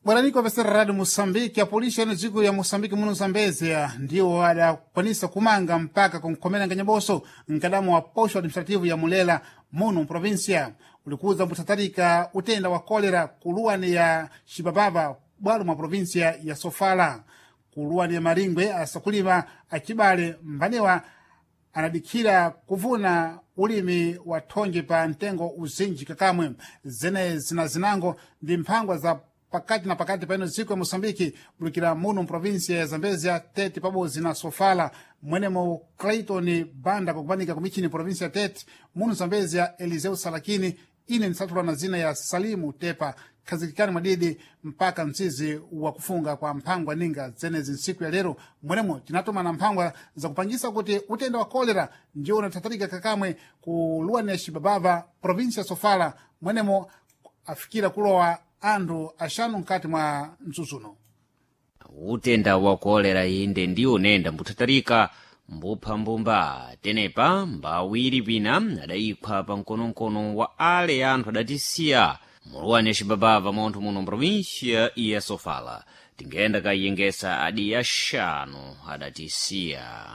Bwananiko vesera Radio Moçambique, a polícia no dziko ya Moçambique muno Zambezia ndiwo adakwanisa kumanga mpaka kunkhomera nganyaboso mkadamo wa posho administrativo ya Mulela muno mprovinsia ulikuza mbuthatalika utenda wa kolera kuluwani ya Xibababa bwalo mwa provinsia ya Sofala kuluwani ya Maringwe asakulima acibale mbanewa anadikhira kuvuna ulimi wa thonje pa mtengo uzinji kakamwe zene zina zinango ndi mphangwa za pakati na pakati paino dziko ya moçambike bulukira muno mprovinsia ya zambezia tete pabodzi na sofala mwenemo clayton banda kukupanika kumichini provinsia ya tete muno zambezia eliseu salakini ine nsathula na zina ya salimu tepa khazikikani mwadidi mpaka mtsizi wa kufunga kwa mphangwa ninga zenezi ntsiku ya lero mwenemo tinatuma na mphangwa zakupangisa kuti utenda wa kolera ndiwo unathatalika kakamwe ku luwani ya xibabava provinsia ya sofala mwenemo afikira kulowa anthu axanu mkati mwa mtsutsuno Utenda wa kolera inde ndiwo unenda mbuthatalika mbupha mbumba tenepa mbawiri pina adayiphwa pa mkonomkono wa ale anthu adatisiya muluwani ya xibabava montho muno mprovinsia ya sofala tingenda kayengesa adi axanu adatisiya.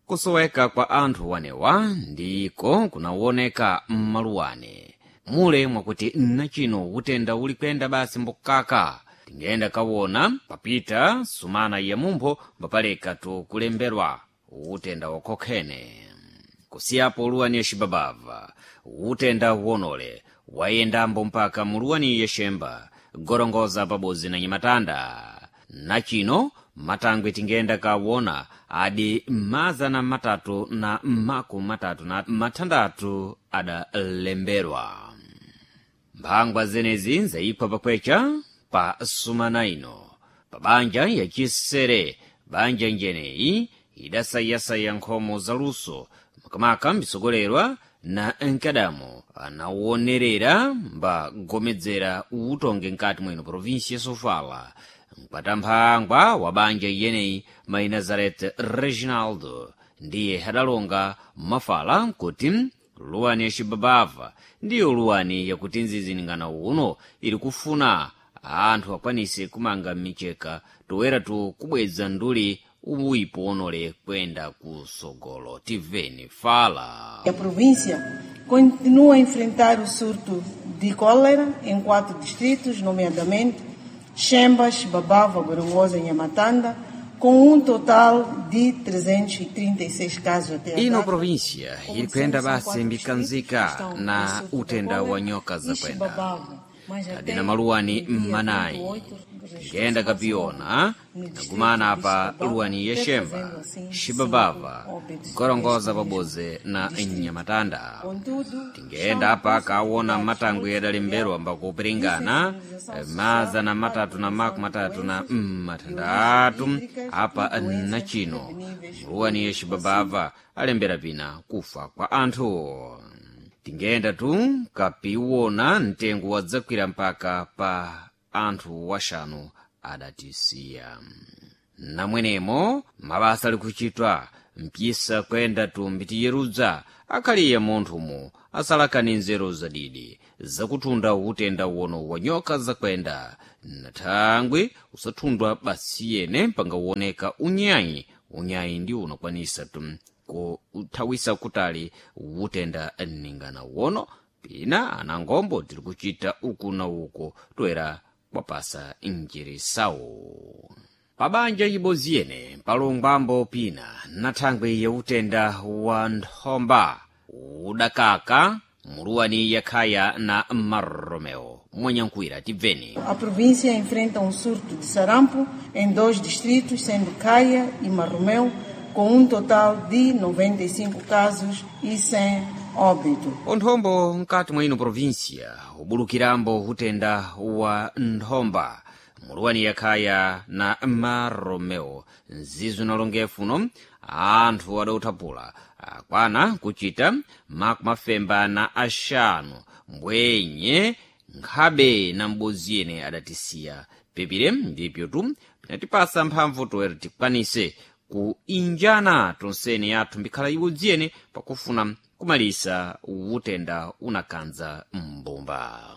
Kusoweka kwa anthu wanewa ndiko kunawoneka mmaluwane mule mwakuti nachino utenda uli kuyenda basi mbukaka tingenda kawona papita sumana ya mumpho mbapaleka tukulemberwa utenda wakokhene. Kusiyapo luwani ya xibabava utenda wonole wayendambo mpaka muluwani ya xemba gorongoza pabodzi na nyamatanda nachino matangwe tingenda kawona adi 336 adalemberwa. Mphangwa zenezi zayiphwa pakwecha pa sumana ino pa banja yachisere banja njeneyi idasayasaya nkhomo zaluso makamaka mbisogolerwa na nkadamo anawonerera mbagomedzera utonge nkati mwino provinsi ya sofala mkwata wa banja iyeneyi mai Nazareth Reginaldo ndiye adalonga mafala kuti luwani ya xibabava ndiyo luwani yakuti nziziningana uno ili kufuna anthu akwanise kumanga micheka toera tu kubweza nduli uwipo onole kwenda kusogolo. Tiveni fala. A província continua a enfrentar o surto de cólera em quatro distritos, nomeadamente Chemba, Xibabava, Gorongosa e Nhamatanda, com um total de 336 casos até a Ino data. província Como ili kuyenda dissemos, são basi quatro mbikanzika distritos que estão em na surto de utenda wa cólera nyoka e zakwenda Xibabava, mas tadi até na maluwani o dia mmanayi 28 ngenda kapiona no distrito nagumana de pa Xibabava, luwani ya Xemba, trazendo assim Xibabava, cinco óbitos Gorongoza neste mesmo pabodzi na distrito. Nyamatanda. Contudo, Tingenda estão apa em curso kaona atividades matangwe adalemberwa multifatoriais de mbakupiringana sensibilização mazana social para a matatu na prevenção makumi de matatu na doenças de origem matandatu hídricas apa e doenças nachino preveníveis muluwani por ya Xibabava alembera pina kufa kwa anthu. Tingenda tu kapiwona mtengo wadzakwira mpaka pa anthu waxanu adatisiya. Namwenemo mabasa ali kuchitwa mpisa kwenda tumbi tiyerudza akhaliye munthumu asalakani nzeru zadidi zakuthunda utenda wono wa nyoka zakwenda na thangwi usathundwa basi yene pangawoneka unyayi unyayi ndiwo unakwanisa tu kuthawisa kutali utenda ningana wono pina anangombo tiri kuchita uku na uko toera kwapasa njirisawo pabanja ibodzi yene palongwambo pina na thangwi ya utenda wa nthomba udakaka muluwani yakhaya na Marromeo mwanyankhwira tibveni. A província enfrenta um surto de sarampo em dois distritos, sendo Caia e Marromeu, com um total de 95 casos e 100 óbito. Onthombo mkati mwa ino província ubulukirambo utenda wa nthomba muluwani yakhaya na Marromeo nzizo nalongefuno anthu adauthapula akwana kuchita makumafemba na axanu mbwenye nkhabe na m'bodzi yene adatisiya pepire ndipyo tu pinatipasa mphamvu toera tikwanise kuinjana tonsene yathu mbikhala iwodzi yene pakufuna kumalisa utenda unakhanza mbumba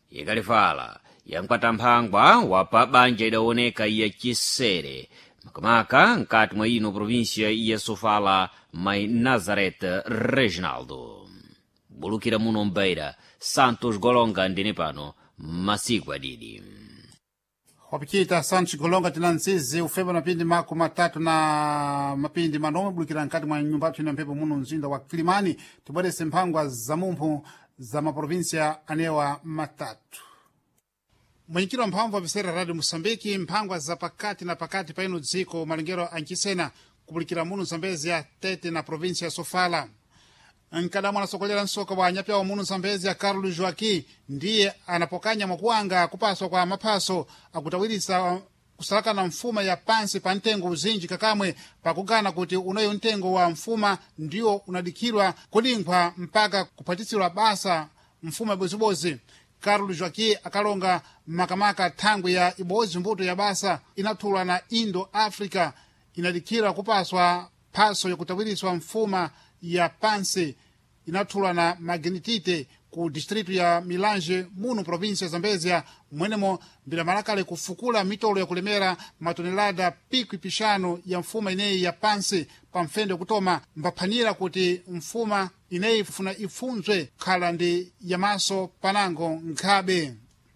ikalifala. Yankwata mphangwa wapa banja idawoneka ya chisere makamaka nkati mwa ino província ya Sofala, mai Nazareth Reginaldo. Bulukira muno mbeira, Santos Golonga ndine pano masiku adidi. Wapichita Santos Golonga tina ntsizi ufemba mapindi mako matatu na mapindi manomwe bulukira nkati mwa nyumba yathu ina mphepo muno mzinda wa Kilimani. Tibwerese mphangwa za mumphu za maprovinsia anewa matatu. Mwenyekiti wa mphamvu apisera Radio Moçambique, mphangwa za pakati na pakati pa ino dziko malengero ancisena kupulikira muno Zambezia, Tete na província ya Sofala. Nkadamu anasokolera msoka wa anyapyawo muno Zambezia, Carlos Joaquim, ndiye anapokanya mwakuwanga kupaswa kwa maphaso akutawirisa kusalakana mfuma ya pansi pa mtengo uzinji kakamwe pakugana kuti unoyo mtengo wa mfuma ndiwo unadikhirwa kulinkhwa mpaka kuphatitsidwa basa mfuma ibozibodzi. Carlos Joaquim akalonga makamaka thangwi ya ibodzi mbuto ya basa inathulwa na Indo Africa inadikhira kupaswa phaso yakutawiriswa mfuma ya pansi inathulwa na magnetite ku distritu ya Milange muno província ya Zambezia, mwenemo mbilamalakale kufukula mitolo yakulemera matonelada pikwi pixanu ya mfuma ineyi ya pansi pa mfendo yakutoma mbaphanira kuti mfuma ineyi funa ifunzwe khala ndi yamaso panango nkhabe.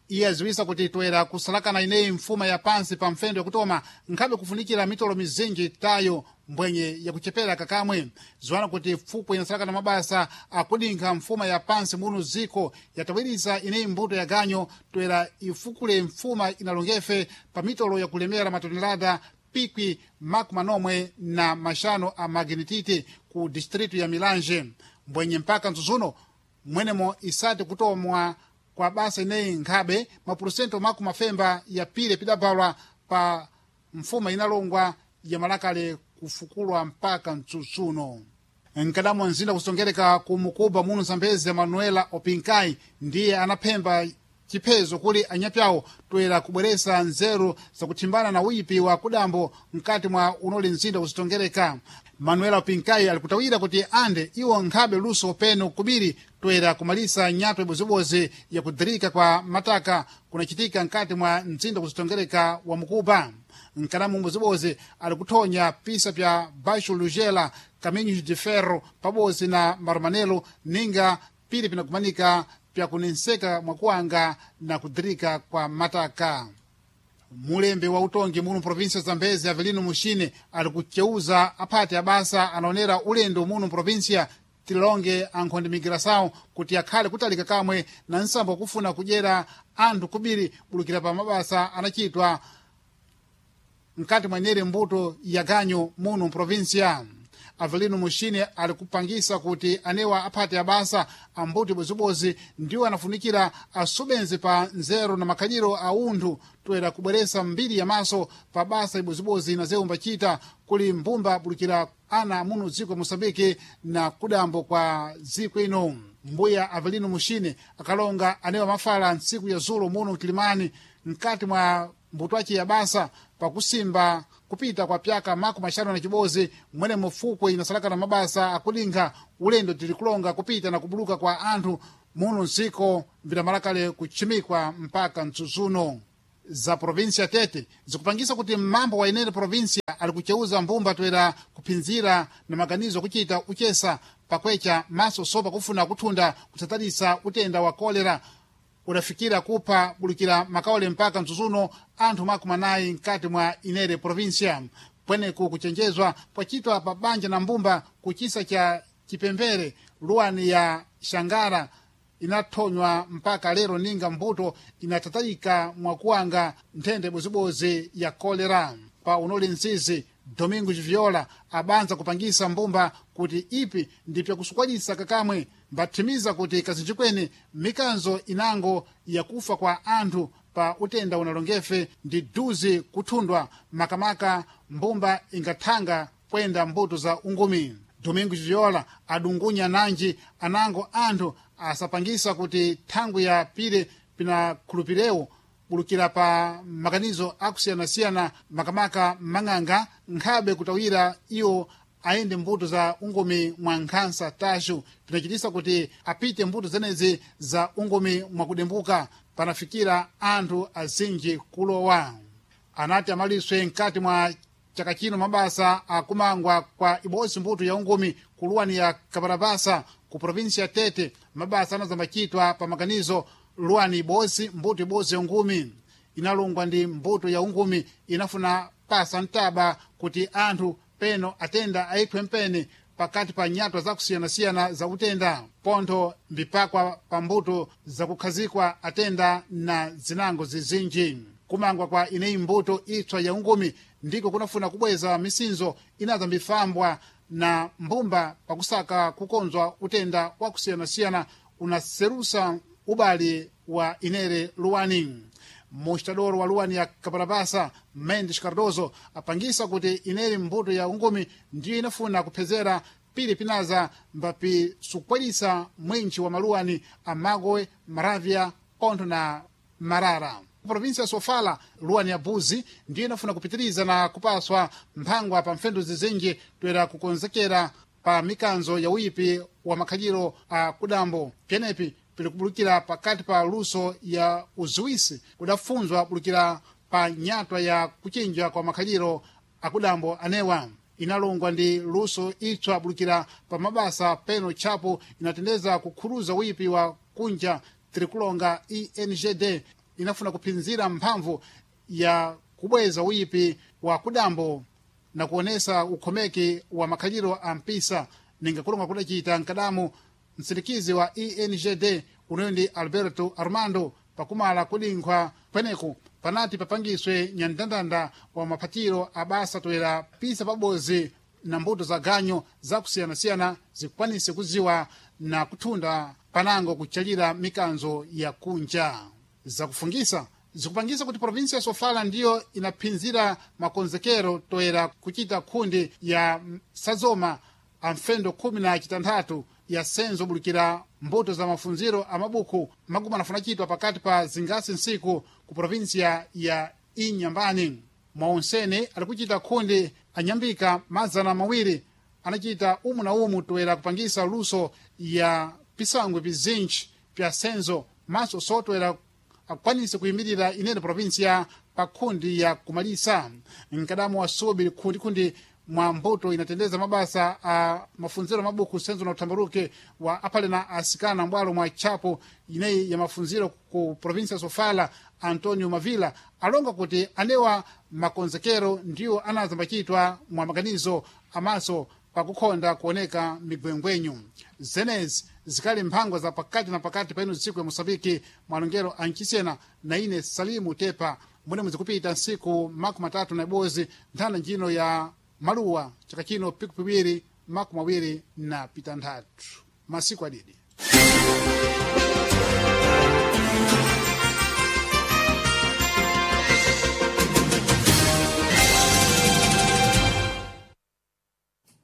Iye aziwisa kuti toera kusalakana ineyi mfuma ya pansi pa mfendo yakutoma nkhabe kufunikira mitolo mizinji tayo mbwenye yakuchepera kakamwe. Ziwana kuti fukwe inasalakana mabasa akudinkha mfuma ya pansi muno ziko yatawirisa ineyi mbuto ya ganyo toera ifukule mfuma inalongefe pa mitolo yakulemera matonelada pikwi makumi manomwe na maxanu a magnetite ku distritu ya Milange, mbwenye mpaka mzuzuno mwenemo isati kutomwa kwa basa ineyi nkhabe mapurusento makumi mafemba ya pile pidabalwa pa mfuma inalongwa ya malakale kufukulwa mpaka mtsutsuno. Nkadamo mzinda kusongereka ku Mukuba muno Zambezi, Manuela Opinkai ndiye anaphemba chiphezo kuli anyapyawo toera kubweresa nzeru zakuthimbana na uyipi wa kudambo mkati mwa unoli mzinda kuzitongereka. Manuela Opinkai alikutawira kuti ande iwo nkhabe luso peno kubiri toera kumalisa nyato ibozibozi yakudirika kwa mataka kunachitika mkati mwa mzinda kuzitongereka wa Mukuba. Nkanamu mbozibozi alikuthonya pisa pya Baixo Lugela, Caminhos de Ferro pabodzi na Marumanelo ninga pili pinakumanika pyakunenseka mwakuwanga na kudirika kwa mataka. Mulembe wa utongi muno província Zambezi, Avelino Muxine, ali kuceuza aphati abasa anaonera ulendo muno província tilonge ankhonde migração kuti akhale kutalika kamwe na nsambo wakufuna kudyera anthu kubiri bulukira pa mabasa anachitwa mkati mwenere mbuto ya ganyo muno província. Avelino Muxine ali kupangisa kuti anewa aphati abasa ambuto ibozibozi ndiwo anafunikira asubenzi pa nzeru na makhaliro a unthu toera kubweresa mbiri ya maso pa basa ibozibozi na zewu mbachita kuli mbumba bulukira ana muno dziko Moçambique na kudambo kwa dziko ino. Mbuya Avelino Muxine akalonga anewa mafala ntsiku ya zulo muno Kilimani mkati mwa mbuto ace ya basa pakusimba kupita kwa pyaka makumi axanu na cibozi mwene mufukwe inasalakana mabasa akulinkha ulendo tilikulonga kupita na kubuluka kwa anthu muno ndziko mbilamalakale kutchimikwa mpaka mtsutsuno. Za província Tete zikupangisa kuti mmambo wa inene província ali kuceuza mbumba toera kuphinzira na maganizo akuchita uchesa pakwecha maso sopa kufuna kuthunda kutsatalisa utenda wa kolera udafikira kupha bulukira makaole mpaka mtsutsuno anthu makumi anayi mkati mwa inere província. Pweneku kuchenjezwa pwachitwa pa banja na mbumba kuchisa cha chipembere luwani ya Xangara inathonywa mpaka lero ninga mbuto inatatalika mwakuwanga nthenda ibozibozi ya kolera. Pa unoli mzizi Domingos Viola abanza kupangisa mbumba kuti ipi ndipyakusukwalisa kakamwe mbathimiza kuti kazinji kwene mikanzo inango yakufa kwa anthu pa utenda unalongefe ndi duzi kuthundwa makamaka mbumba ingathanga kwenda mbuto za ungumi. Domingos Viola adungunya nanji anango anthu asapangisa kuti thangwi ya pile pinakhulupirewo bulukira pa makanizo akusiyanasiyana makamaka mang'anga nkhabe kutawira iwo ayende mbuto za ungomi mwa nkhansa taxo, pinachitisa kuti apite mbuto zenezi za ungomi mwakudembuka. panafikira anthu azinji kulowa. Anati amaliswe mkati mwa chaka chino mabasa akumangwa kwa ibodzi mbuto ya ungumi kuluwani ya Kaparapasa ku provinsi ya Tete. Mabasa anazambachitwa pa maganizo luwani ibodzi mbuto ibodzi ya ungumi inalungwa ndi mbuto ya ungumi inafuna pasa mtaba kuti anthu peno atenda ayiphwe mpene pakati pa nyatwa zakusiyanasiyana za utenda pontho mbipakwa pa mbuto zakukhazikwa atenda na zinango zizinji. Kumangwa kwa ineyi mbuto itswa ya ungumi ndiko kunafuna kubweza misinzo inaza mbifambwa na mbumba pakusaka kukonzwa utenda wakusiyanasiyana unaserusa ubali wa inere luwani. Mostador wa luwani ya Kaparapasa Mendes Cardoso apangisa kuti ineri mbuto ya ungumi ndiyo inafuna kuphezera pili pinaza mbapi sukwelisa mwinchi wa maluwani amagowe, Maravya, pontho na Marara. Provinsi ya Sofala luwani ya Buzi ndiyo inafuna kupitiriza na kupaswa mphangwa pa mfendu zizinji toera kukonzekera pa mikanzo ya uyipi wa makhaliro a kudambo. Pyenepi pilikubulukira pakati pa luso ya uziwisi kudafunzwa bulukira pa nyatwa ya kuchinja kwa makhaliro akudambo anewa inalongwa ndi luso itswa bulukira pa mabasa peno tchapo inatendeza kukhuruza uyipi wa kunja tirikulonga ENGD inafuna kuphinzira mphamvu ya kubweza uyipi wa kudambo na kuonesa ukhomeki wa makhaliro a mpisa ninga kulonga kudacita mkadamu msirikizi wa ENGD unoyo ndi Alberto Armando pakumala kulinkhwa kweneku panati papangiswe nyandandanda wa maphatiro a basa toera pisa pabozi na mbuto za ganyo zakusiyanasiyana zikwanise kuziwa na kuthunda panango kuchalira mikanzo ya kunja. Zakufungisa zikupangisa kuti provinsi ya Sofala ndiyo inaphinzira makonzekero toera kuchita khundi ya sazoma a mfendo 16 ya senzo bulukira mbuto za mafunziro a mabuku maguma anafuna chitwa pakati pa zingasi nsiku ku provinsiya ya Inyambani. Mwaonsene alikuchita khundi anyambika 200 anachita umu na umu toera kupangisa luso ya pisangwe pizinji pya senzo maso sotwera akwanise kuyimirira inene provinsiya pa khundi ya kumalisa. Mkadamu wa subi khundikhundi mwa mbuto inatendeza mabasa a mafunziro mabuku senzo na utambaruke wa apale na asikana mbwalo mwa chapo ineyi ya mafunziro ku provinsia Sofala Antonio Mavila alonga kuti anewa makonzekero ndiwo anazambachitwa mwa maganizo amaso pakukhonda kuoneka migwengwenyu. Zenezi zikali mphangwa za pakati na pakati painu dziko ya Mosambiki mwalongero ancisena na ine Salimu Tepa mwene muzikupita nsiku 31 nthanda njino ya maluwa chaka chino piku piwiri 26 masiku adidi.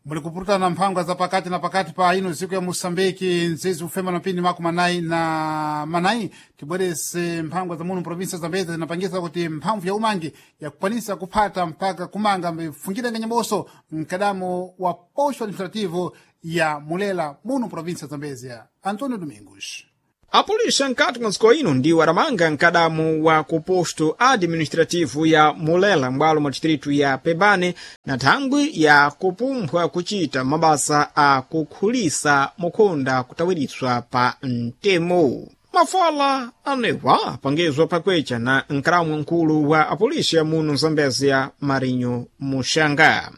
Muli kupurutana mphangwa za pakati na pakati pa ino dziko ya Moçambique nzizi ufema na pindi 44 tibwerese mphangwa za muno provinsia Zambezi zinapangisa kuti mphamvu ya umangi yakukwanisa kuphata mpaka kumanga mifungire nganyaboso mkadamo wa posto administrativo ya Mulela muno provinsia Zambezia. Antonio Domingos. Apolisa nkati mwa dziko ino ndiwo adamanga mkadamu wa kuposto administrativo ya Mulela m'bwalo mwa distritu ya Pebane na thangwi ya kupumphwa kuchita mabasa a kukhulisa mukhonda kutawiriswa pa mtemo. Mafala anewa apangizwa pakwecha na nkalamu mkulu wa apolisi ya muno Zambezia Marinho Muxanga.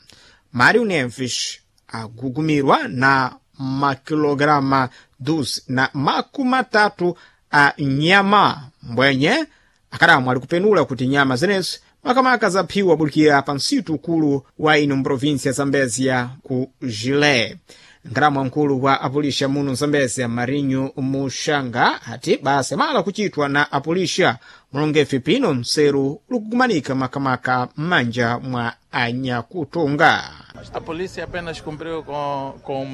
Mário Neves agugumirwa na makilograma 12 a nyama mbwenye akadamu ali kupenula kuti nyama zenezi makamaka zaphiwa bulikira pa msitu ukulu wa ino mprovinsia ya Zambezia ku Gilé. Nkalamu wamkulu wa apulisha muno Zambezia Marinho Muxanga ati basa mala kuchitwa na apulisha mulongefe pino mseru likukumanika makamaka m'manja mwa anyakutonga. A polícia apenas cumpriu com um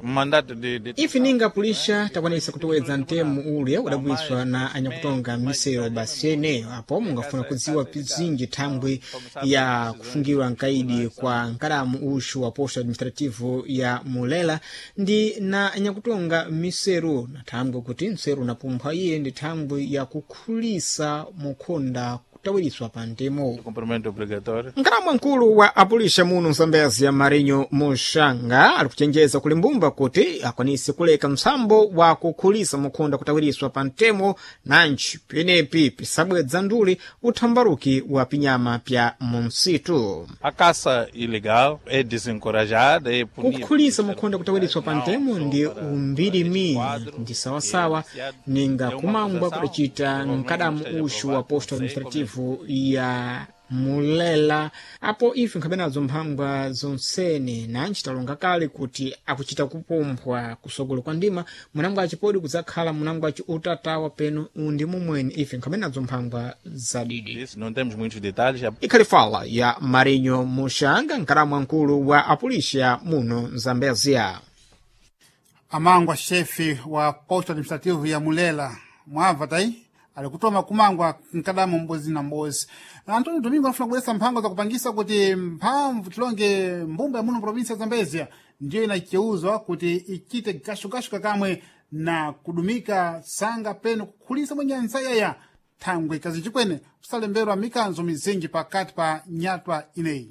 mandato de Ife ninga pulisha takwanisa kutowedza mtemo ule udabwiswa na anyakutonga misero basi ene apo mungafuna kudziwa pizinji thangwi ya kufungiwa nkaidi kwa nkalamu uxu wa posto administrativo ya Mulela ndi na anyakutonga miseru, na thangwi kuti mseru unapumphwa iye ndi thangwi ya kukhulisa mukhonda kutawiriswa pa mtemo. Cumprimento obrigatório. Nkalamu mkulu wa apulisha muno Mzambezia, Marinho Muxanga, ali kuchenjeza kuli mbumba kuti akwanise kuleka msambo wa kukhulisa mukhonda kutawiriswa pa mtemo, nanji penepi pisabwedza nduli uthambaruki wa pinyama pya munsitu. A caça ilegal é desencorajada, é punida. Kukhulisa mukhonda kutawiriswa pa mtemo ndi umbirimi ndi sawasawa ninga kumangwa kudacita mkadamu uxu wa posto administrativo ya Mulela. Apo ife nkhabe nazo mphangwa zonsene, nanji talonga kale kuti akuchita kupomphwa kusogolo kwa ndima munango acipodi kudzakhala munango aci utatawa peno undi mumweni ife nkhabe nazo mphangwa zadidi. Isso, não temos muitos detalhes. Ikhali fala ya Marinho Muxanga, nkalamu mkulu wa apulisha muno Mzambezia. Amangwa chefe wa posto administrativo ya Mulela mwabva tai alikutoma kumangwa mkadamu mbozi na mbozi. Antônio Domingo anafuna kubweretsa mphango zakupangisa kuti mphamvu tilonge mbumba ya muno provinsi ya Zambezia ndiyo inacheuzwa kuti ichite gashugashu kakamwe na kudumika sanga peno kukhulisa mwenye nsayaya thangwe kazichikwene kusalemberwa mikanzo mizinji pakati pa nyatwa ineyi.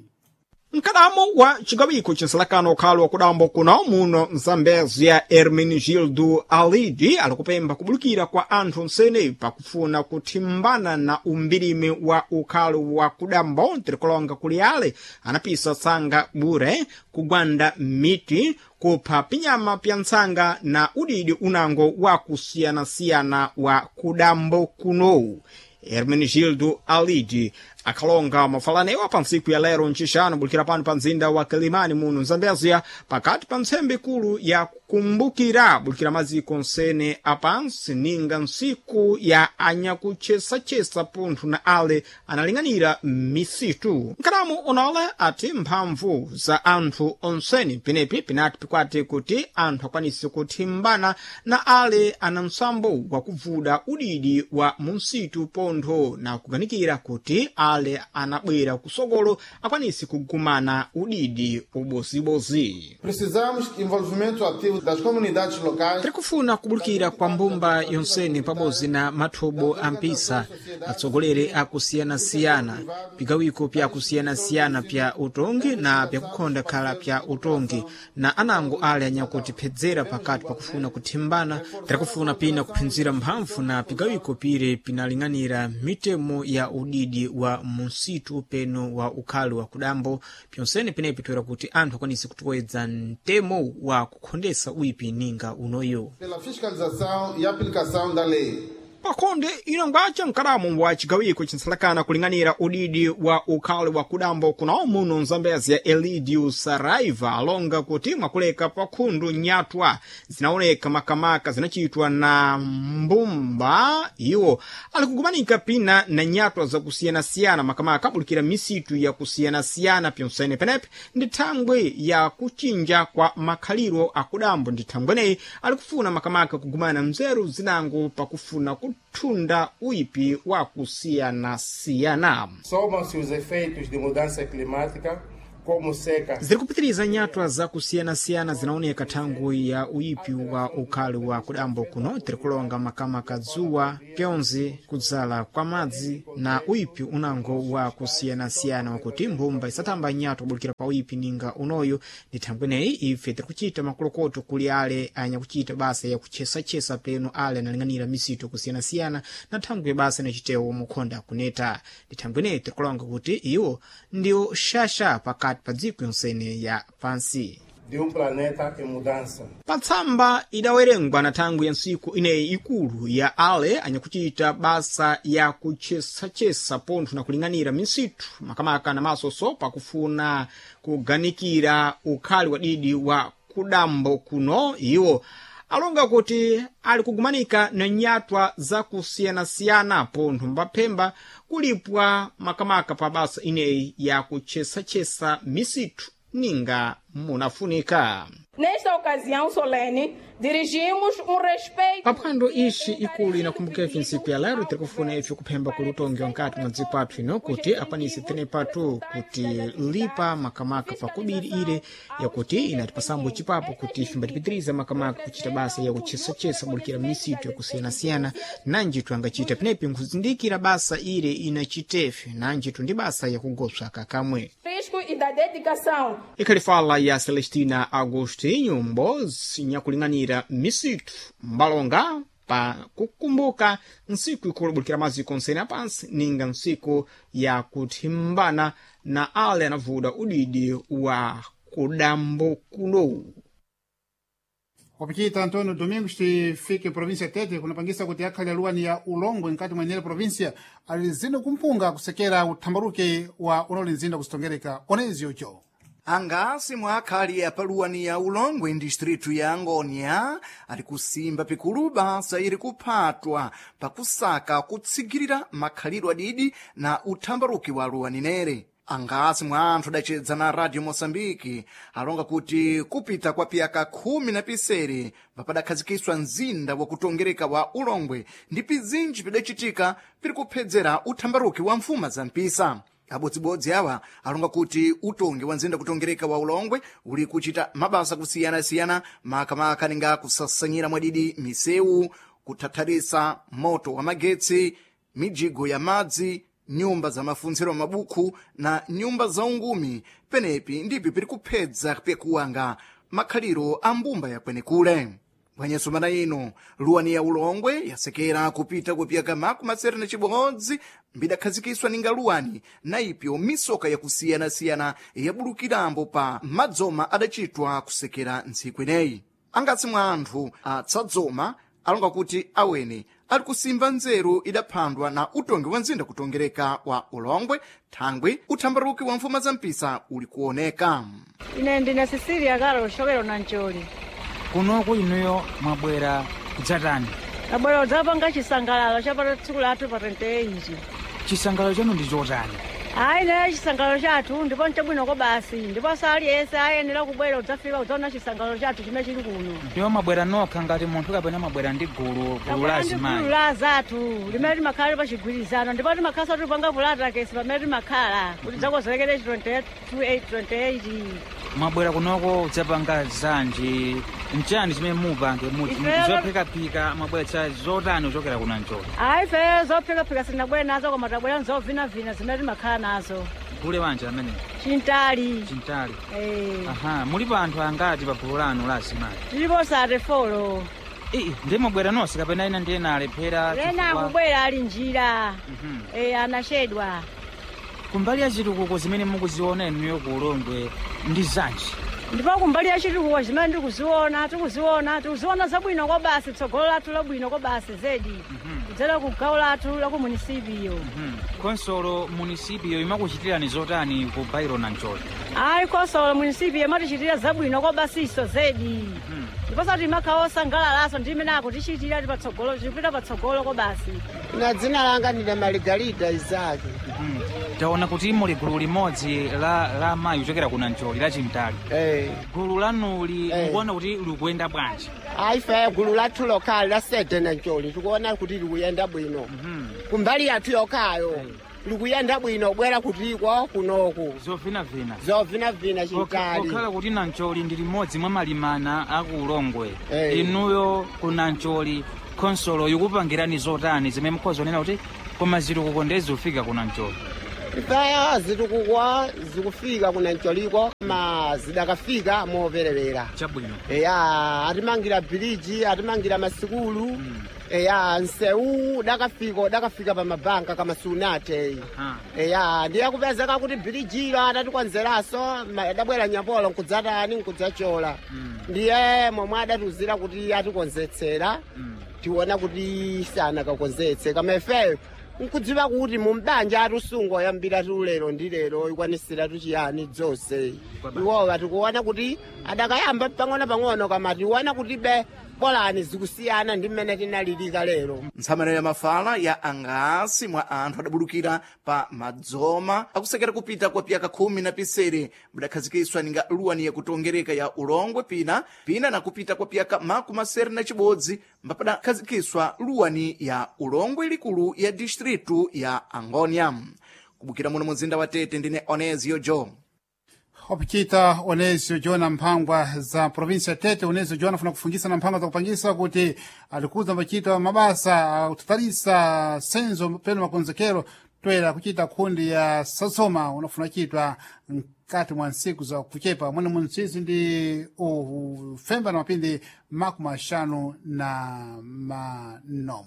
Mkadamo wa cigawiko cinsalakano ukhalo wa kudambo kuno muno Mzambezia, Hermenegildo Alidi, alikupemba kubulukira kwa anthu nsene pakufuna kuthimbana na umbirimi wa ukhalo wa kudambo, tirikulonga kuli ale anapisa tsanga bure, kugwanda miti, kupha pinyama pya ntsanga na udidi unango wa kusiyanasiyana wa kudambo kuno. Hermenegildo Alidi akhalonga mafalanewa pa ntsiku ya lero ncixanu bulikira pano pa mzinda wa Kilimani muno Mzambezia, pakati pa ntsembe ikulu ya kukumbukira bulikira maziko nsene apansi ninga ntsiku ya anyakuchesachesa punthu na ale analing'anira misitu. Nkalamu unole ati mphamvu za anthu onseni penepi pinati pikwati kuti anthu akwanise kuthimbana na ale ana msambo wakuvuda udidi wa munsitu pontho na kuganikira kuti ale anabwera kusogolo akwanise kugumana udidi ubozibozi. Precisamos envolvimento ativo das comunidades locais. Tirikufuna kubulukira kwa mbumba yonsene pabodzi na mathobo a mpisa, atsogoleri akusiyanasiyana, pigawiko pyakusiyanasiyana pya utongi na pyakukhonda khala pya utongi na anango ale anyakutiphedzera pakati pakufuna kuthimbana. Tirikufuna pina kuphinzira mphamvu na pigawiko pire pinaling'anira mitemo ya udidi wa munsitu peno wa ukhali wa kudambo pyonsene penepi toera kuti anthu akwanise kutowedza mtemo wa kukhondesa uipi ninga unoyo. Pela fiscalização e aplicação da lei. Pakhonde inongwaca mkalamu wa cigawiko cinsalakana kuling'anira udidi wa ukhali wa kudambo kuno muno Mzambezia, Elidio Saraiva, alonga kuti mwakuleka pakhundu nyatwa zinaoneka makamaka zinachitwa na mbumba iwo alikugumanika pina na nyatwa zakusiyanasiyana makamaka abulikira misitu yakusiyanasiyana pyonsene penepe ndi thangwi ya kuchinja kwa makhaliro akudambo, ndi thangweneyi alikufuna makamaka kugumana mzeru zinango pakufuna kuthunda uipi wa kusiyanasiyana. Somam-se os efeitos de mudança climática, como seca. Ziri kupitiriza nyatwa zakusiyanasiyana zinaoneka thangwi ya uipi wa ukhali wa kudambo kuno, tirikulonga makamaka dzuwa, pyonzi, kudzala kwa madzi na uipi unango wa kusiyanasiyana wakuti mbumba isatamba nyatwa kubulikira pa uipi ninga unoyo. Ndi thangweneyi ife tirikuchita makolokoto kuli ale anyakuchita basa yakuchesachesa peno ale analing'anira misitu kusiyanasiyana na thangwi basa inachitewo mukhonda kuneta. Ndi thangweneyi tirikulonga kuti iwo ndiwo xaxa pakati pa dziko yonsene ya pansi. De planeta em mudança. Patsamba idawerengwa na thangwi ya ntsiku ineyi ikulu ya ale anyakuchita basa ya kuchesachesa pontho na kuling'anira misitu makamaka na masoso pakufuna kuganikira ukhali wadidi wa kudambo kuno, iwo Alonga kuti ali kugumanika na nyatwa zakusiyanasiyana pontho mbaphemba kulipwa makamaka pa basa ineyi ya kuchesachesa misithu ninga munafunika. Nesta ocasião solene, dirigimos respeito. Paphwando ixi ikulu inakumbuka ntsiku ya lero tiri kufuna ife kuphemba kuli utongi wankati mwa dziko athu ino kuti akwanise tenepatu kuti lipa makamaka pakubiri ile yakuti inatipasambo chipapo kuti ife mbatipitiriza makamaka kuchita basa ya kuchesachesa bulikira misitu yakusiyanasiyana nanjitu angachita penepi nkhuzindikira basa ile inachitefe nanjitu ndi basa yakugopsa kakamwe Risco e da dedicação. Ikhali fala ya Celestina Agostinho mbozi nyakuling'anira misitu mbalonga pa kukumbuka ntsiku ikulu bulikira maziko onsene apansi ninga ntsiku ya kuthimbana na ale anavuda udidi wa kudambo kuno. Wapichita Antônio Domingos tifike província Tete kunapangisa kuti akhale aluwani ya Ulongwe nkati mwa inere província ali zino kumpunga kusekera uthambaruke wa unoli mzinda kusitongereka onezi ucho. Angasi mwa akhali apaluwani ya Ulongwe ndistritu ya Angônia ali kusimba pikulu basa ili kuphatwa pakusaka kutsigirira makhalidwe adidi na uthambaruki wa luwani nere. Angasi mwa anthu adacedza na Radio Moçambique alonga kuti kupita kwa piyaka 17 padakhazikiswa mzinda wakutongereka wa Ulongwe ndi pizinji pidacitika piri kuphedzera uthambaruki wa mfuma za mpisa. Abodzibodzi awa alonga kuti utongi wa mzinda kutongereka wa Ulongwe uli kuchita mabasa kusiyanasiyana makamaka ninga kusasanyira mwadidi misewu, kuthatharisa moto wa magetsi, mijigo ya madzi, nyumba za mafunziro mabukhu na nyumba za ungumi. Penepi ndipi piri kuphedza pyakuwanga makhaliro a mbumba yakwenekule. Bwanyasumana ino luwani ya Ulongwe yasekera kupita kupyaka 71 mbidakhazikiswa ninga luwani na ipyo misoka yakusiyanasiyana yabulukirambo pa madzoma adacitwa kusekera ntsiku ineyi. Angasi mwa anthu atsadzoma alonga kuti awene ali kusimba nzeru idaphandwa na utongi wa mzinda kutongereka wa Ulongwe thangwi uthambaruki wa mfuma za mpisa uli kuoneka. Ine ndine Cecilia Carol shokera na Njoli. Kunoku inuyo mwabwera kudzatani? Abwera kudzapanga chisangalalo cha tsiku lathu pa 28. Chisangalalo chanu ndi chotani? Ayi, naye chisangalalo chathu ndipo nchabwinoko basi, ndiponso aliyense ayenera kubwera kudzafika kudzaona chisangalalo chathu chimene chili kuno. Ndiwo mwabwera nokha ngati munthu kapena mwabwera ndi gulu gulu la Ndi gulu azimayi? la zathu limene timakhala pachigwirizano, ndipo timakhala tipanga pulatakesi pamene timakhala kuti dzakonzekere 28 28. Mwabwera kunoko kudzapanga zanji, nchani chimene mupange mudzi? Zophikaphika mwabweretsa zotani kuchokera kuna Njoli? Ayi, ife zophikaphika sitinabwere nazo, koma tabwera nzovinavina zimene timakhala nazo. Gule wanje amene? Chintali. Chintali. Eh. Aha, mulipo anthu angati pa gulu lanu la azimayi? Tilipo 34. Ii, ndiye mwabwera nonse kapena ina ndiye nalephera? Lena Chifukwa- akubwera ali njira. Eh, anachedwa. Kumbali ya chitukuko zimene mukuziona inuyo ku Ulongwe ndi zanji? Ndipo kumbali ya chitukuko zimene ndikuziona, tikuziona zabwino kwa basi, tsogolo lathu labwino kwa basi zedi kudzera ku gawo lathu la ku munisipiyo. Konsolo munisipiyo imakuchitirani zotani ku bairo na Njoli? Ayi, konsolo munisipiyo imatichitira zabwino kwa basiso zedi, ndiponso timakhala osangalalaso ndi imene akutichitira ti patsogolo, tikupita patsogolo kwa basi. Na dzina langa ndine Maligarida Isaki. Taona kuti muli gulu limodzi la amayi kuchokera kuna Njoli la Chintali. Gulu lanuli mukuona kuti likuyenda bwanji? Ayi, ife gulu lathu lokhali la sede na Njoli tikuona kuti likuyenda bwino kumbali yathu yokhayo, likuyenda bwino bwera kutiko kunoku. Zovinavina. Zovinavina, chintali. Pokhala kuti Nancholi ndi limodzi mwa malimana aku Ulongwe, inuyo ku Nancholi khonsolo ikupangirani zotani zimene mukhoza kunena kuti koma zitukuko ndezikufika ku Nancholi? Ifeyo zitukuko zikufika kuna Ncholiko ma zidakafika moperewera. Chabwino. Eya, atimangira bhiliji, atimangira masikulu. Eya, nsewu udakafika pa mabanka kama sunate. Eya, ndiye kupezeka kuti bhilijilo atatikonzeraso adabwera nyapolo nkudzatani nkudzachola. Ndiye momwe adatuzira kuti atikonzetsera, tiona kuti sanakakonzetse, kama ifeyo nkudziwa kuti mumbanja atisunga oyambira tulero ndi lero ikwanisira tuchiyani dzonse iwowa tikuona kuti adakayamba pang'ono pang'ono, kama tiona kuti be Bolani zikusiyana ndi mmene tinalilika lero. Ntsamano ya mafala ya angasi mwa anthu adabulukira pa madzoma akusekera kupita kwa piyaka khumi na pisere budakhazikiswa ninga luwani yakutongereka ya ulongwe pina pina na kupita kwa piyaka makumi asere na chibodzi mbapadakhazikiswa luwani ya ulongwe likulu ya distritu ya angonia. Kubukira muno mzinda wa Tete ndine Onesio Jo. Opikita Onesio Jona mphangwa za provinsia ya Tete. Onesio Jona afuna kufungisa na mphangwa za kupangisa kuti alikuza machita mabasa akutatalisa senzo peno makonzekero toera kuchita kundi ya sasoma unafuna chitwa mkati mwa nsiku za kuchepa mwene munsizi ndi ufemba na mapindi 54.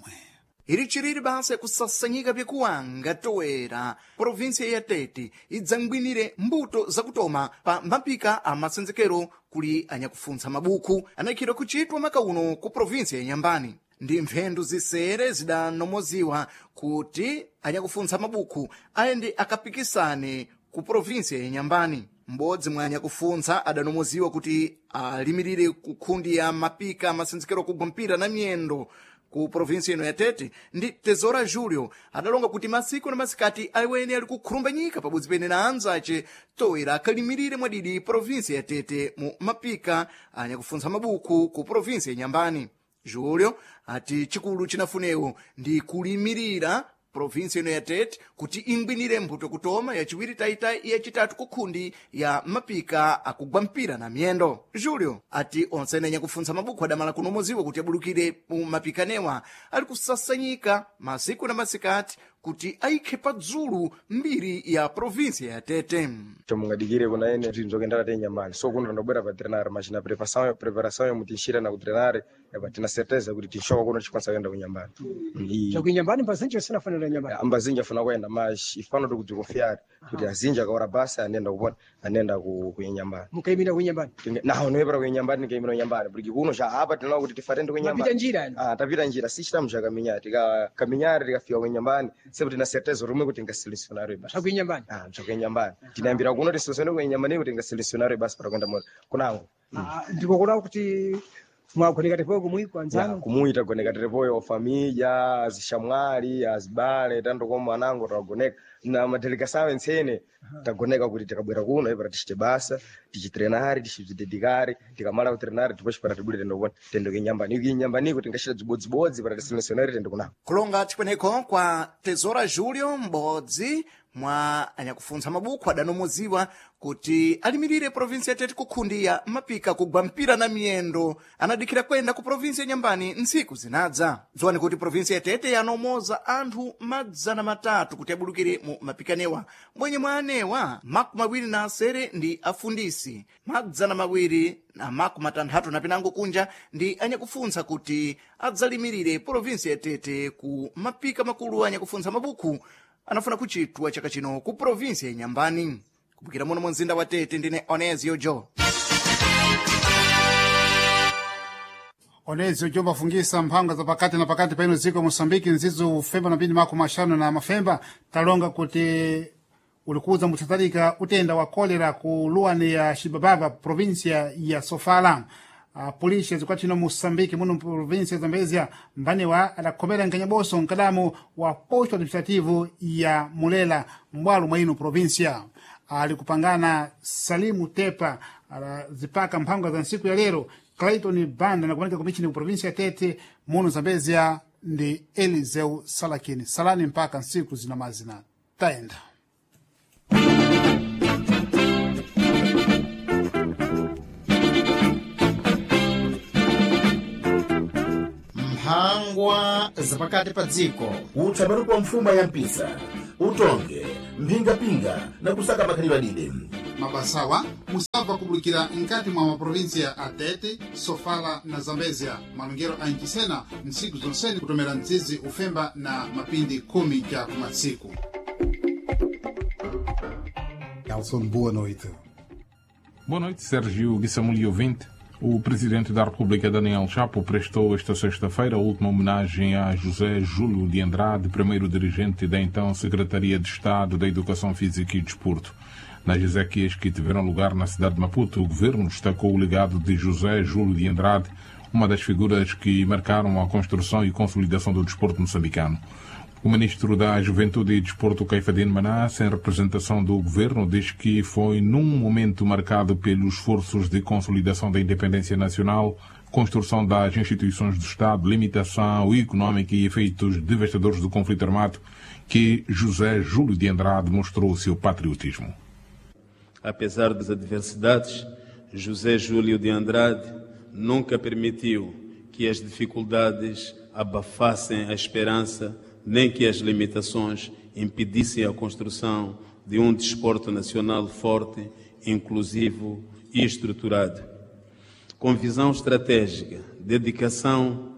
Iri chiriri basa yakusasanyika pyakuwanga toera provinsia ya Tete idzangwinire mbuto zakutoma pa mapika a masenzekero kuli anyakufuntsa mabuku anayikhidwa kuchitwa makauno ku provinsia ya Nyambani. Ndi mphendu zisere zidanomoziwa kuti anyakufuntsa mabuku ayende akapikisane ku provinsia ya Nyambani. M'bodzi mwa anyakufuntsa adanomoziwa kuti alimirire ku khundi ya mapika masenzekero kugwa mpira na miyendo ku provinsi ino ya Tete ndi Tesoura Julio adalonga kuti masiku na masikati awene ali kukhurumbanyika pabodzi pene na anzace toera akalimirire mwadidi provinsi ya Tete mu mapika anyakufuntsa mabuku ku provinsi ya Nyambani. Julio ati chikulu chinafunewo ndi kulimirira provinsi ino ya Tete kuti ingwinire mbuto kutoma yachiwiri taitayi yachitatu kukhundi ya mapika akugwa mpira na miyendo. Julio ati onse ene anyakufuntsa mabuku adamala kunomoziwa kuti abulukire mu mapikanewa ali kusasanyika masiku na masikati kuti ayikhe padzulu mbiri ya provinsi ya Tete. Chomungadikire kuna ene zvinhu zvokendara te Nyambani so kuno tandobwera pa trenare machina preparação yomuti tinxira na kutrenare apa tina certeza kuti tinxoka kuno tichikwanisa kuenda kunyambani. Chakuinyambani mbazinji osinafanira nyambani. Ambazinji afuna kuenda mas ifano tikudzikonfiari kuti azinji akaora basa anenda kupona anenda kuinyambani. Mukaimira kuinyambani. Naho noyepera kuinyambani nikaimira kunyambani porque kuno xa apa tinaona kuti tifatende kunyambani. Mapita njira yani. Ah, tapita njira sichitamu xa kaminyari tika kaminyari tikafika kuinyambani sepo tina certeza rumwe kuti tingaselecionare basi. Chakuinyambani. Ah, chakuinyambani. Tinayambira kuno tiselecionare kuinyambani kuti tingaselecionare basi para kuenda kunango. Ndikokola kuti mwagoneka tepoyo kumwiko anzanu. Kumuita goneka tepoyo família, azixamwali, azibale tandokoma anango tagoneka na madelegação entsene tagoneka kuti tikabwera kuno ipara tichite basa tichitrenare tichibzidedikare tikamala kutrenare depois para tibure tende kupona tende kuinyambani kuinyambaniko tingachita dzibodzibodzi para tiselecionare tende kunako. Kulonga chikweneko kwa Tesoura Julio m'bodzi mwa anyakufuntsa mabuku adanomoziwa kuti alimirire provinsi ya Tete kukhundi ya mapika kugwa mpira na miyendo anadikhira kwenda ku provinsi ya Nyambani ntsiku zinadza. Dziwani kuti provinsi ya Tete yanomoza anthu 300 kuti abulukire mu mapikanewa mbwenye mwa anewa 28 ndi afundisi 260 na pinango kunja ndi anyakufuntsa kuti adzalimirire provinsi ya Tete ku mapika makulu anyakufuntsa mabuku anafuna kuchitwa chaka chino ku provinsi ya Nyambani. Kubukira muno mu mzinda wa Tete ndine Onesio Jo. Onesio Jo mafungisa mphangwa za pakati na pakati paino dziko Moçambique nzizo ufemba na pindi 54 talonga kuti ulikuza muthatalika utenda wa kolera ku luwani ya Xibabava provinsia ya Sofala. Polícia zikwatino Moçambique muno província ya Zambezia mbaniwa adakhomera nkanyaboso nkadamu wa posto administrativo ya Mulela mbwalo mwa ino província. Ali kupangana Salimu Tepa alazipaka mphangwa za nsiku ya lero Clayton Banda nakumanika kumichini ku província ya Tete muno Zambezia ndi Eliseu Salakini. Salani mpaka nsiku zinamazina taenda. Mphangwa zapakati pa dziko. Utsamani wa mfuma ya mpisa utonge mphingapinga na kusaka makhalidwe adide. Mabasawa musabva kubulukira nkati mwa maprovinsia a Tete, Sofala na Zambezia malongero a nchisena ntsiku zonseni kutomera mzizi ufemba na mapindi 10 cha kumatsiku. Nelson, boa noite. Boa noite, Sérgio Guissamuli ouvinte. O presidente da República, Daniel Chapo, prestou esta sexta-feira a última homenagem a José Júlio de Andrade, primeiro dirigente da então Secretaria de Estado da Educação Física e Desporto. Nas exéquias que tiveram lugar na cidade de Maputo, o governo destacou o legado de José Júlio de Andrade, uma das figuras que marcaram a construção e consolidação do desporto moçambicano. O ministro da Juventude e Desporto, Caifadine Manasse, em representação do governo, diz que foi num momento marcado pelos esforços de consolidação da independência nacional, construção das instituições do Estado, limitação econômica e efeitos devastadores do conflito armado, que José Júlio de Andrade mostrou o seu patriotismo. Apesar das adversidades, José Júlio de Andrade nunca permitiu que as dificuldades abafassem a esperança, nem que as limitações impedissem a construção de um desporto nacional forte, inclusivo e estruturado. Com visão estratégica, dedicação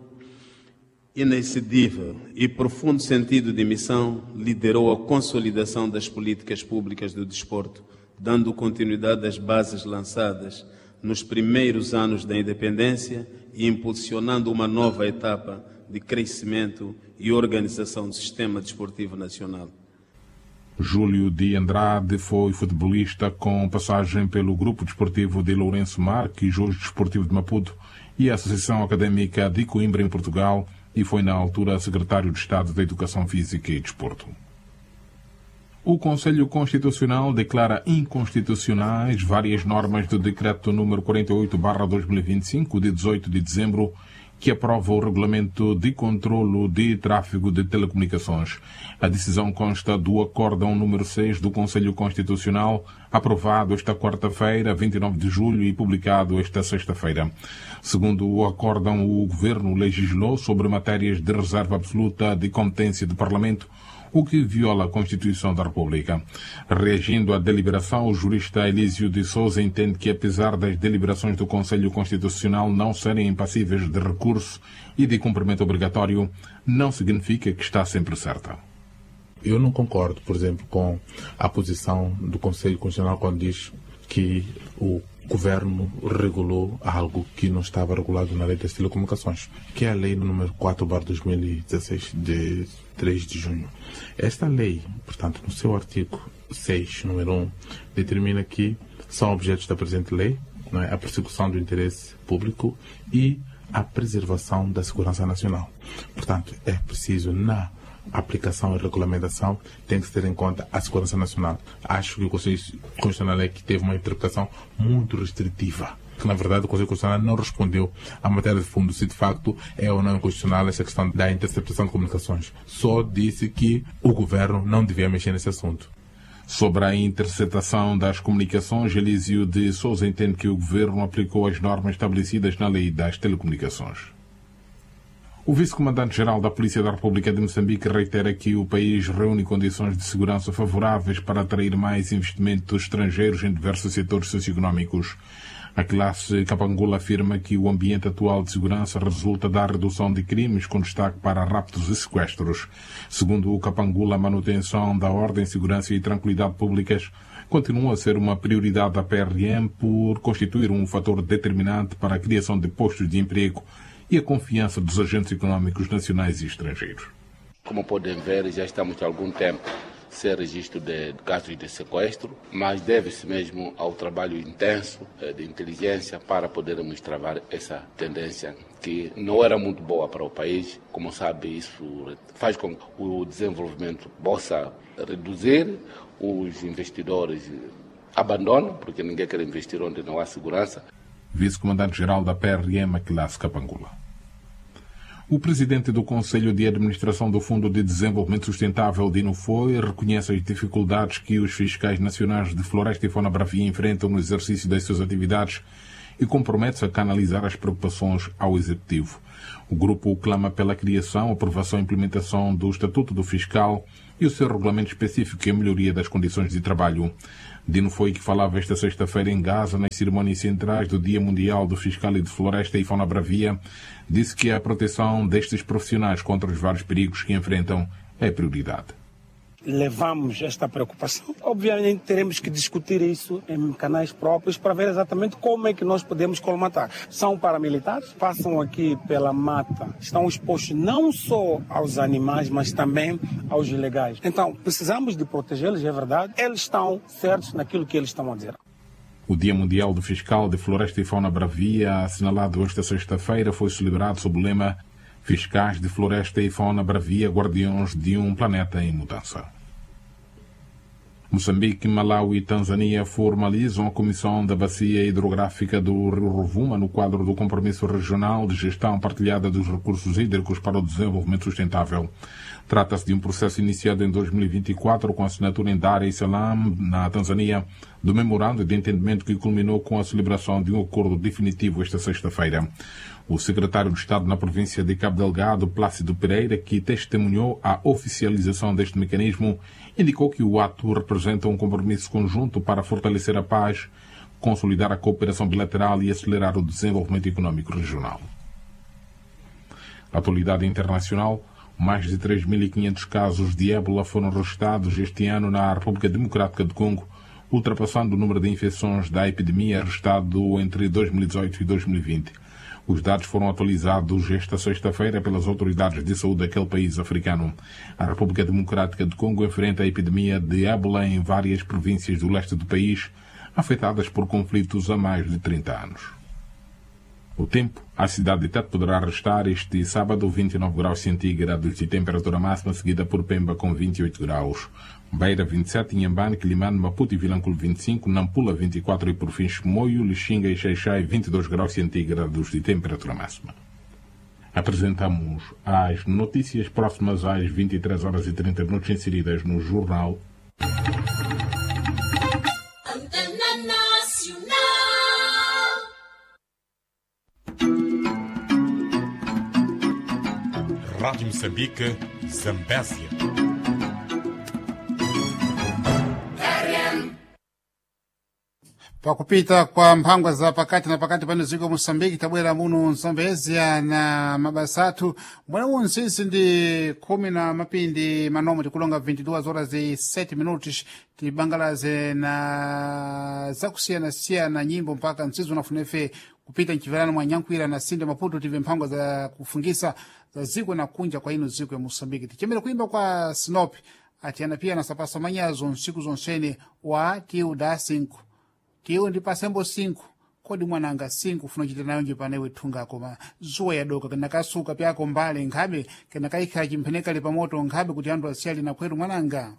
inexcedível e profundo sentido de missão, liderou a consolidação das políticas públicas do desporto, dando continuidade às bases lançadas nos primeiros anos da independência e impulsionando uma nova etapa de crescimento e organização do sistema desportivo nacional. Júlio de Andrade foi futebolista com passagem pelo Grupo Desportivo de Lourenço Marques, hoje Desportivo de Maputo, e a Associação Académica de Coimbra, em Portugal, e foi na altura secretário de Estado da Educação Física e Desporto. O Conselho Constitucional declara inconstitucionais várias normas do Decreto número 48/2025, de 18 de dezembro, que aprova o Regulamento de Controlo de Tráfego de Telecomunicações. A decisão consta do Acórdão número 6 do Conselho Constitucional, aprovado esta quarta-feira, 29 de julho, e publicado esta sexta-feira. Segundo o acórdão, o Governo legislou sobre matérias de reserva absoluta de competência do Parlamento, o que viola a Constituição da República. Reagindo à deliberação, o jurista Elísio de Souza entende que, apesar das deliberações do Conselho Constitucional não serem impassíveis de recurso e de cumprimento obrigatório, não significa que está sempre certa. Eu não concordo, por exemplo, com a posição do Conselho Constitucional quando diz que o governo regulou algo que não estava regulado na lei das telecomunicações, que é a lei número 4/2016, de 3 de junho. Esta lei, portanto, no seu artigo 6, número 1, determina que são objetos da presente lei, não é, a persecução do interesse público e a preservação da segurança nacional. Portanto, é preciso, na aplicação e regulamentação, tem que se ter em conta a segurança nacional. Acho que o Conselho Constitucional é que teve uma interpretação muito restritiva. Que, na verdade, o Conselho Constitucional não respondeu à matéria de fundo se de facto é ou não inconstitucional essa questão da interceptação de comunicações. Só disse que o governo não devia mexer nesse assunto. Sobre a interceptação das comunicações, Elísio de Souza entende que o governo aplicou as normas estabelecidas na lei das telecomunicações. O vice-comandante-geral da Polícia da República de Moçambique reitera que o país reúne condições de segurança favoráveis para atrair mais investimentos estrangeiros em diversos setores socioeconômicos. A classe Capangula afirma que o ambiente atual de segurança resulta da redução de crimes, com destaque para raptos e sequestros. Segundo o Capangula, a manutenção da ordem, segurança e tranquilidade públicas continua a ser uma prioridade da PRM por constituir um fator determinante para a criação de postos de emprego e a confiança dos agentes econômicos nacionais e estrangeiros. Como podem ver, já estamos há algum tempo sem registro de casos de sequestro, mas deve-se mesmo ao trabalho intenso de inteligência para podermos travar essa tendência que não era muito boa para o país. Como sabe, isso faz com que o desenvolvimento possa reduzir, os investidores abandonam, porque ninguém quer investir onde não há segurança. Vice-comandante-geral da PRM, Classe Capangula. O presidente do Conselho de Administração do Fundo de Desenvolvimento Sustentável, Dino Foi, reconhece as dificuldades que os fiscais nacionais de Floresta e Fauna Bravia enfrentam no exercício das suas atividades e compromete-se a canalizar as preocupações ao Executivo. O grupo clama pela criação, aprovação e implementação do Estatuto do Fiscal e o seu regulamento específico e a melhoria das condições de trabalho. Dino Foi, que falava esta sexta-feira em Gaza, nas cerimônias centrais do Dia Mundial do Fiscal e de Floresta e Fauna Bravia, disse que a proteção destes profissionais contra os vários perigos que enfrentam é prioridade. Levamos esta preocupação. Obviamente teremos que discutir isso em canais próprios para ver exatamente como é que nós podemos colmatar. São paramilitares, passam aqui pela mata, estão expostos não só aos animais, mas também aos ilegais. Então, precisamos de protegê-los, é verdade. Eles estão certos naquilo que eles estão a dizer. O Dia Mundial do Fiscal de Floresta e Fauna Bravia, assinalado esta sexta-feira, foi celebrado sob o lema Fiscais de Floresta e Fauna Bravia, guardiões de um planeta em mudança. Moçambique, Malawi e Tanzânia formalizam a Comissão da Bacia Hidrográfica do Rio Rovuma no quadro do Compromisso Regional de Gestão Partilhada dos Recursos Hídricos para o Desenvolvimento Sustentável. Trata-se de um processo iniciado em 2024 com a assinatura em Dar es Salaam, na Tanzânia, do memorando de entendimento que culminou com a celebração de um acordo definitivo esta sexta-feira. O secretário de Estado na província de Cabo Delgado, Plácido Pereira, que testemunhou a oficialização deste mecanismo, indicou que o ato representa um compromisso conjunto para fortalecer a paz, consolidar a cooperação bilateral e acelerar o desenvolvimento econômico regional. Atualidade internacional. Mais de 3.500 casos de ébola foram registrados este ano na República Democrática do Congo, ultrapassando o número de infecções da epidemia registrado entre 2018 e 2020. Os dados foram atualizados esta sexta-feira pelas autoridades de saúde daquele país africano. A República Democrática do Congo enfrenta a epidemia de ébola em várias províncias do leste do país, afetadas por conflitos há mais de 30 anos. O tempo, a cidade de Tete poderá restar este sábado 29 graus centígrados de temperatura máxima, seguida por Pemba com 28 graus. Beira 27, Inhambane, Quelimane, Maputo e Vilanculo 25, Nampula 24 e por fim Chimoio, Lixinga e Xaixai 22 graus centígrados de temperatura máxima. Apresentamos as notícias próximas às 23 horas e 30 minutos inseridas no jornal. Antena Nacional. Rádio Moçambique, Zambésia. Pakupita kwa mphangwa za pakati na pakati pano dziko Moçambique tabwera muno Zambezia na mabasa athu mbwena unsisi ndi khumi na mapindi manomwe tikulonga 22 horas e 7 minutos tibangalaze na zakusiyanasiyana nyimbo mpaka msizi unafunefe kupita mchiverano mwa nyankhwira na sinde Maputo tive mphangwa za kufungisa za ziko na kunja kwa ino ziko ya Moçambique tichemere kuimba kwa Sinop atiyana pia na sapasa manyazo nsiku zonsene wa tiu da 5 tiwo ndi pasembo 5 kodi mwananga 5 ufuna kuchita nayo nje panewe thunga koma zuwa yadoka kenakasuka pyako mbale nkhabe kenakaikha chimphenekale pamoto nkhabe kuti anthu asiyali na khweru mwananga.